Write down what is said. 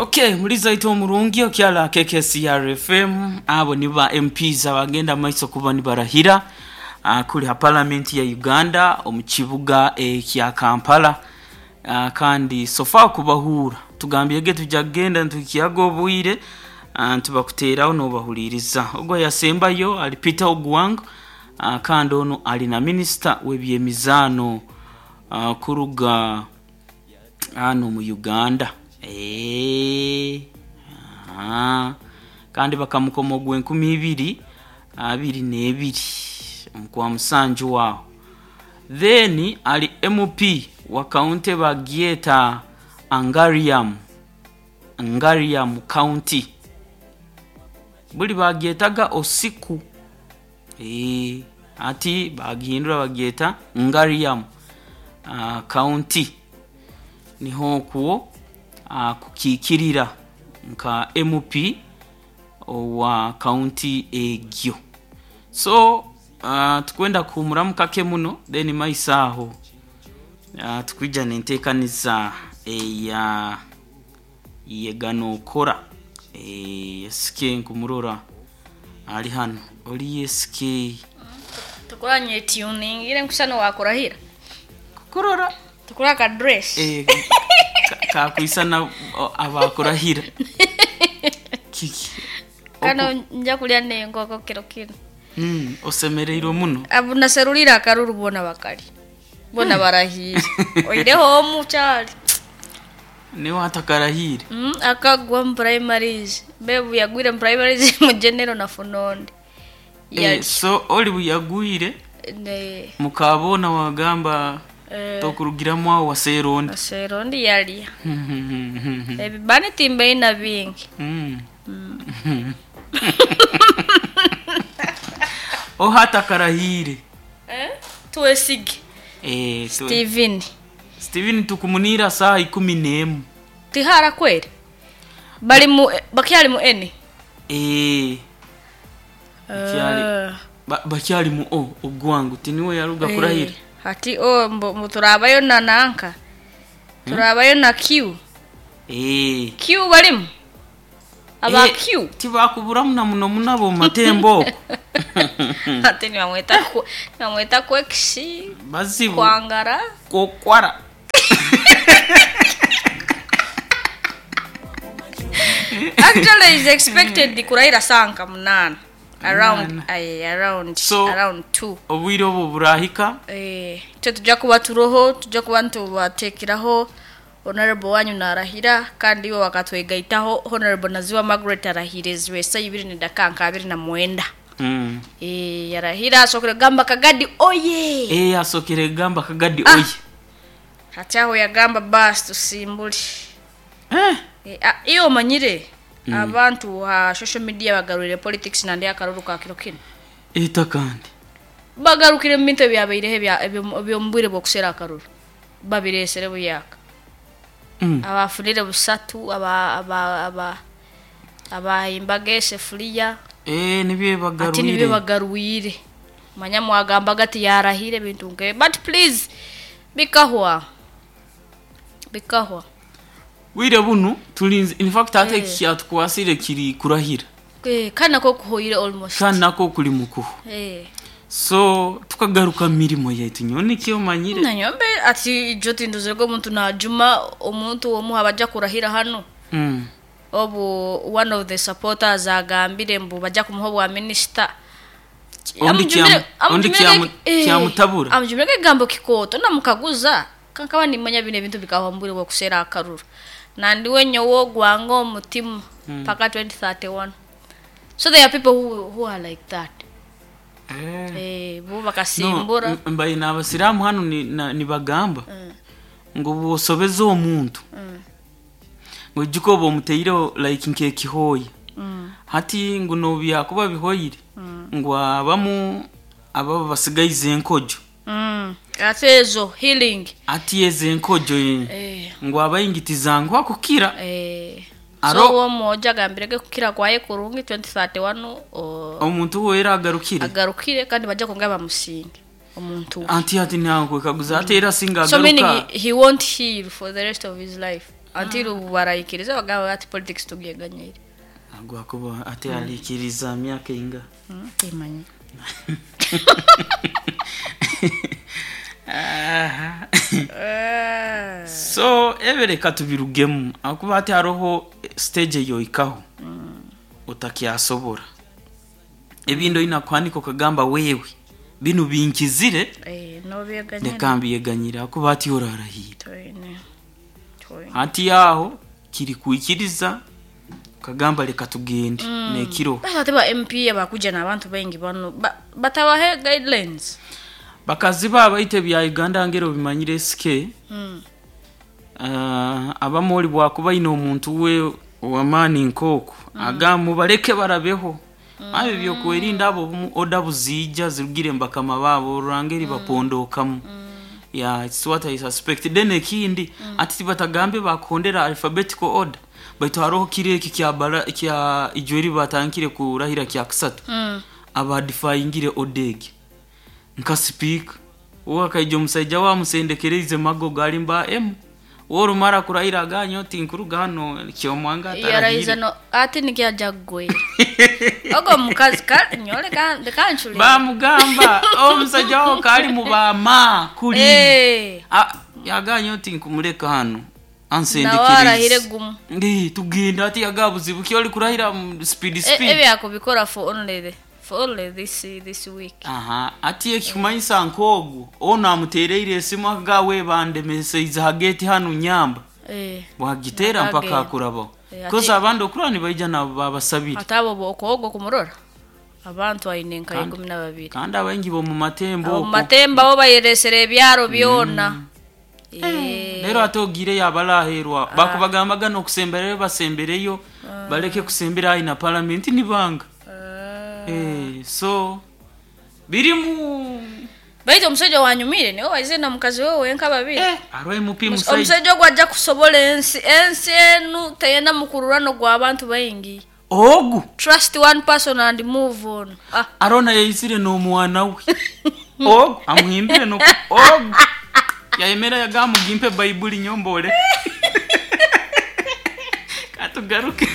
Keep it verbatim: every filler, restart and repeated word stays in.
Okay, muliza omurungi okyala K K C R F M. Abo ni ba M Ps abagenda maiso kuba nibarahira uh, kuli ha Parliament ya Uganda omu kibuga ekya Kampala. uh, kandi sofa kubahura tugambyege tujja kugenda ntukiyaga obwire uh, ntibakuteraho nobahuliriza. Ogwo yasembayo ali Peter Ogwang, uh, kandi ono ali na minisita w'ebyemizaano uh, kuruga hano mu Uganda. Eh, aha. Kandi bakamukoma ogw'enkumi ibiri abiri n'ebiri omukwa musanju waaho. Then ali M P wa county bagyeta Ngariam, Ngariam County, buli bagyetaga Osiku. Eh, ati bagihindura bagyeta Ngariam uh, County, niho okwo uh, kukiikirira nka M P owa county egyo. So uh, tukwenda kuhumuramu kake muno, then maiso aho uh, tukwija nenteekaniza eya yeganokora. e, S K nkumurora ali hano, oli S K. Tukuranye tuningire nkusano wakurahira. Kukurora. Tukura ka dress. e, kakwisana abakurahira kiki? Kano nja kulya nenkoko kiro kino. mm, osemereirwe muno. Abu naserulira akaruru, bona bakali bona barahire, oireho omu kyali. Niwe atakarahire? mm, akagwa mu primaries, bebu yagwire mu primaries, mu general na funondi. eh, so oli buyagwire Ne mukabona wagamba eh, tokurugiramu aho waserondi. Aserondi yalya ebibani timbeina bingi. Mm. Ohatakarahire? Eh? Twesige. eh, tu- Steven. Steven tukumunira saa ikumi n'emu. Tihara kweri bali mu bakyali mu eni. Eh, bakyali Eh, ba- bakyali mu o ogwangu tiniwe yaruga kurahira. Eh, hati o mbu mbu turabayo na nanka, turabayo na Q. Eh. Q balimu aba Eh, Q. Tibakuburamu na muno munabo mu matembo okwo. Ate nibamweta ku- nibamweta kwekisi. Bazibu. Kwangara. Kokwara. Actually is expected kurahira sanka munana around. Munana. Aye, around So- around two. Obwire obwo burahika. Eh, icyo tujja kuba turoho, tujja kuba ntubatekeraho honorable wanyu narahira, kandi iwe wakatwegaitaho Honorable Naziwa Margaret arahire ziwesa ibiri ni dakanka abiri na mwenda. mm. Eh, yarahira asokere gamba Kagadi oye. Eh, asokere gamba Kagadi Ah. oye. Hati aho yagamba basi tusimbule. eh. Eh, ah, iyo omanyire abantu ha social media bagarurire politics nandi akaruru ka kiro kino. Eta kandi. Bagarukire mu bintu ebyabaireho ebya- ebyo- ebyomubwire bwokusera akaruru babiresere buyaka. mm. Abafunire busatu, aba aba aba abahimbaga esefuriya. Eh, nibyo. Ati nibyo Bagarwire. Bagarwire manya mwagambaga ati yarahire bintu nke, but please, bikahwa bikahwa. Bwire bunu tulinze, in fact ate Eh. kyatukwasire kiri kurahira. Eh, kandi nako kuhoyire almost. Kandi nako kuli mukuhu. Eh. So tukagaruka mu mirimo yaitu, nyowe nikyo manyire. Nanyombe ati ijo tinduzirwe omuntu najuma omuntu omu abajja kurahira hano. mm. Obu one of the supporters agambire mbu bajja kumuha obwa minisita. Ondi kyamu- ondi kyamu- kyamutabura. Amujumire ekigambo kikooto namukaguza kankaba nimanya bino ebintu bikahwa mbwire bwokusera akaruru nandiwe nyowe ogwanga omutima paka twenty thirty-one. So there are people who, who are like that. Eh. Eh, bo bakasimbura. No, m- mbaye n'abasiraamu hano ni- na- nibagamba ngo bwosobeza omuntu ngo ojjuka oba omuteireho like nk'ekihooya, hati ngu nobyakuba bihoyire ngu abamu ababa basigaize enkojo. Mm. Ate ezo healing. Ati ezo enkojo eh, Eh. ngu abaingitiza akukira. Eh. Aro- So uwo mwoja agambirege kukira kwaye kurungi twenty thirty-one o- omuntu wera agarukire. Agarukire kandi bajja kongera bamusinge omuntu we. Anti ati nankwekaguza ate era singa So meaning agaruka. he, he won't heal for the rest of his life. Until mm. barayikiriza bagamba ati politics tubyeganyire. Agwakuba ate alikiriza myaka inga. Mm, timanyi. Aha. Eh. So ebere katubirugemu akuba ati haroho stage yoikaho mm. utakyasobora ebintu ina kwanika okagamba wewe binu binkizire Eh, no byeganyire. leka mbyeganyire akuba ati orarahira Toine. Toine. hati yaho kiri kuikiriza ukagamba leka tugende mm. nekiro Basi ate ba M P abakuja n'abantu baingi bano ba, batabahe guidelines. Bakazi babaite bya Uganda ngero bimanyire S K. Mm. Uh, abamoli bwakuba ino omuntu we wamani nkoko mm. agamu baleke barabeho mm. abe byokwerinda abo oda buzija zirugire mbakama babo rangeri mm. bapondokamu mm. Yeah, it's what I suspect. Then ekindi mm. ati batagambe bakondera alphabetical order baitu haroho kire eki kya bara kya ijweri batankire kurahira kya kusatu mm. abadifyingire odege nka speak uwa kaija omusajja wa musendekereze mago galimba M worumara kurahira ganyo tinkuruga hano kyomwanga yaraiza atarahire no ati nikyajagwe ogo mukazi ka nyole ka kanchuli bamugamba omusajja wawo kali mu bama kuli eh ah yaganyo tinkumuleka hano Nawarahire gumu. Ndi tugenda ati yagabuzibu kyoli kurahira mu speed speed e ebyakubikora for only the, for only this this week. Aha ati ekikumanyisa nkogu ono amutereire esimu agawe bandemeseiza hageti hano nyamba eh wagitera mpaka Agenda. akurabaho Eh, ati- koza abandi okurani baija nabo babasabire atabo bokogo kumurora abantu aine nka ikumi na babiri kandi abaingi bo mu matembo abo okwo. matemba bo bayeresera ebyaro byona eh rero ate ogire yabalaherwa bakubagambaga nokusembereyo basembereyo baleke kusembera ayi na parliament nibanga eh so birimu baitu omusajja wanyumire niwe waize na mukazi we wenka babiri eh arwaye mupi musajja omusajja ogwo ajja kusobola ensi ensi enu teyenda mukururano gw'abantu baingi ogu trust one person and move on. Ah arona yayisire n'omwana we ogu amuhimbire no ogu yayemera yagamugimpe bayibuli nyombole katugaruke.